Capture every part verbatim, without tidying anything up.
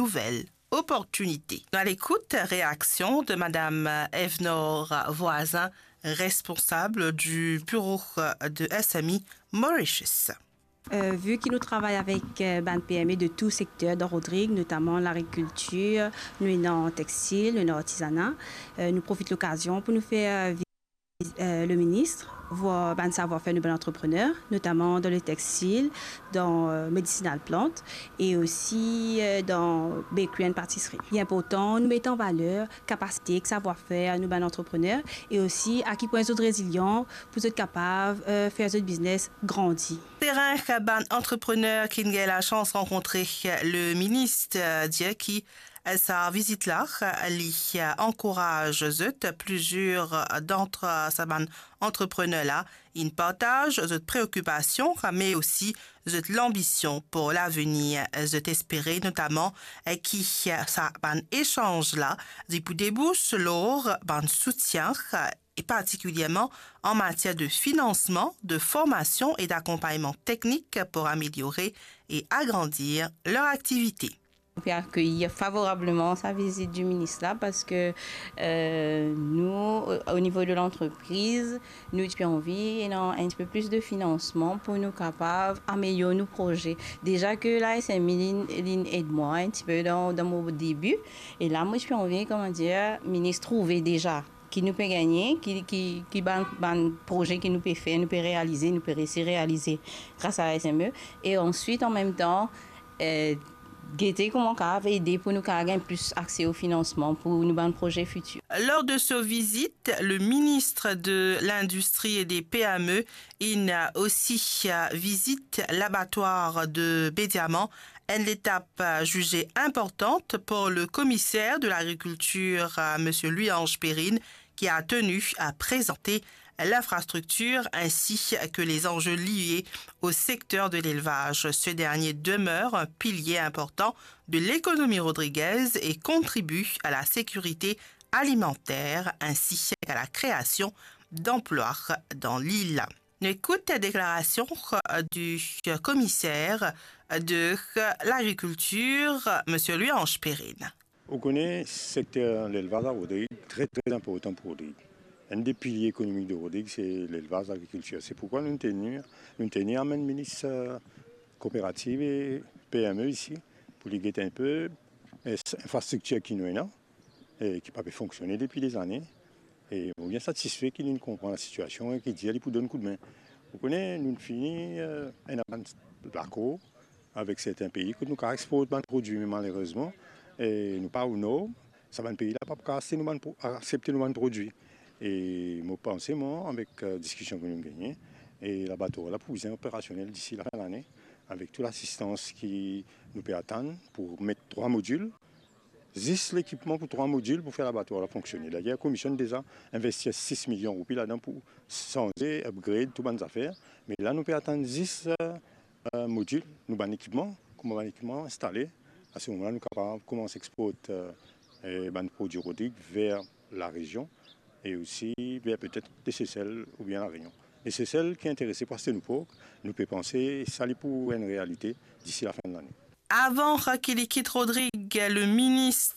nouvelles opportunités. Nou al ekout reaksion de Madame Evnor Voisin, responsable du bureau de S M I Mauritius. Euh, vu ki nou travay avek, euh, bann P M E de tou sekter dan Rodrig, notaman lagrikiltir, nou ena textil, nou ena artizana, euh, nou profit lokazion pou nou fer, euh, euh, le ministre, voir bann savwar-fer nou bann antreprener, notaman dan le textil, dan, euh, medicinal plant e osi, euh, dan bakery and patisserie. Li inportan nou met an valer kapasite ek savwar-fer nou bann antreprener e osi a ki pwin zot rezilian pou zot kapav, euh, fer zot biznes grandi. Seren bann antreprener ki'nn gagn lasans rankontre le minis, euh, dir ki sa vizit la, li ankouraz zot. Plizier dant sa bann antreprener la, inn partaz zot preokipasion, me osi zot lanbision pou lavenir. Zot espere notaman ki sa bann esanz la, li pou debous lor bann soutien, e partikilierman an matier de finansman, de formasion e dakonpagnman teknik pou ameliore e agrandir ler aktivite. Nou pe akeyi favorableman sa vizit di minis la, parski, euh, nou, o, o nivo de lantrepriz, nou ti pe anvi ena enn tipe plis de finansman pou nou kapav amelior nou proze. Deza ke la S M I linn, linn ed mwa enn tipe dan, dan mo debi, e la mo ti pe anvi, kouma dir, minis trouve deza ki nou pe gagne, ki, ki, ki bann, bann proze ki nou pe fer, nou pe realize, nou pe resi realize gras a la S M E. E answit, an mem tan, euh, gete kouma kapav ede pou nou kapav gagn plis akse o finansman pou nou bann proze fitir. Lors de sa vizit, le minis de Lindistri e de P M E inn osi vizit labatwar de Bediaman, enn letap, euh, zize inportan pou le komiser de lagrikiltir, euh, Monsieur Louis-Ange Perrine, ki a teni a prezante l'infrastructure ainsi que les enjeux liés au secteur de l'élevage. Ce dernier demeure un pilier important de l'économie rodriguaise et contribue à la sécurité alimentaire ainsi qu'à la création d'emplois dans l'île. Nou ekout deklarasion, euh, du, euh, komiser de, euh, lagrikiltir, Monsieur Louis-Ange Perrine. Ou kone sekter lelvaz a Rodrig, tre, tre inportan pou Rodrig. Enn de pilie ekonomik de Rodrig, se lelvaz, lagrikiltir. Se poukwa nou teni, nou teni amenn minis, euh, kooperativ e P M E isi, pou li gete enn pe, euh, s-, infrastriktir ki nou ena, e ki pa pe fonksione depi dezane. E mo bien satisfe ki li konpran lasitiasion e ki dir li pou donn koudme. Ou kone, nou fini, euh, ena bann lakor avek sertin pei kot nou kapav export bann prodwi, me malerezman, e nou pa o norm, sa bann pei la pa pou kapav aste nou bann pro-, aksepte nou bann prodwi. E mo panse, mwa, avek, euh, diskision ki nou gagne, e labatwar la pou bizin operasionel disi lafin lane, avek tou lasistans ki nou pe atann pou met trwa modil, zis lekipman pou trwa modil pou fer labatwar la fonksione. Dayer, komision deza investi sis milion roupi ladan pou sanze, upgrade tou bann zafer. Me la, nou pe atann zis, euh, euh, modil, nou bann ekipman, kouma bann ekipman instale, a se moman la, nou kapav koumans export, euh, euh, bann prodwi Rodrig ver larezion e osi ver petet de Sesel oubien La Réunion. E Sesel ki interese pou aste nou pork, nou pe panse sa li pou enn realite disi lafin de lane. Avan ki li kit Rodrig, le minis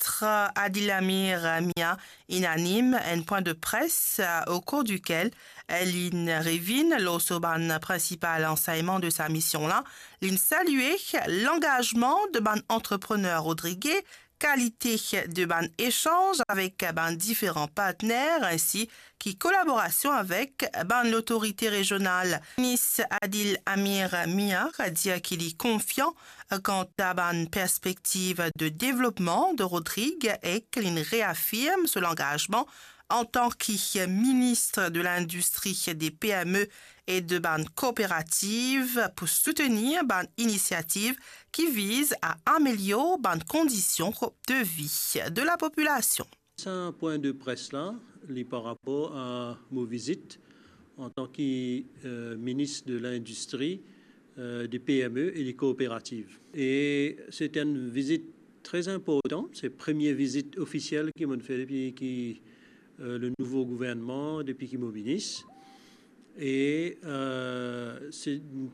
Adil Amir Mia inn anim enn pwin de pres, au cours duquel linn revinn lor so bann prinsipal ansegnman de sa mision la. Linn salie langazman de bann antreprener rodrige, kalite de bann esanz avek bann diferan partner, ainsi ki kolaborasion avek bann lotorite rezional. Minis Adil Amir Mia dir ki li konfian kanta bann perspektiv de devlopman de Rodrig ek linn reafirm so langazman antan ki minis de Lindistri, de P M E e de bann kooperativ pou soutenir bann inisiativ ki viz a amelior bann kondision de vi de lapopilasion. Sa pwin de pres la, li par rapor a mo vizit antan ki, euh, minis de Lindistri, euh, de P M E e de kooperativ. E se enn vizit tre inportan, se premie vizit ofisiel ki mo'nn fer depi ki, euh, le nouvo gouvernman, depi ki mo minis. E, euh, se enn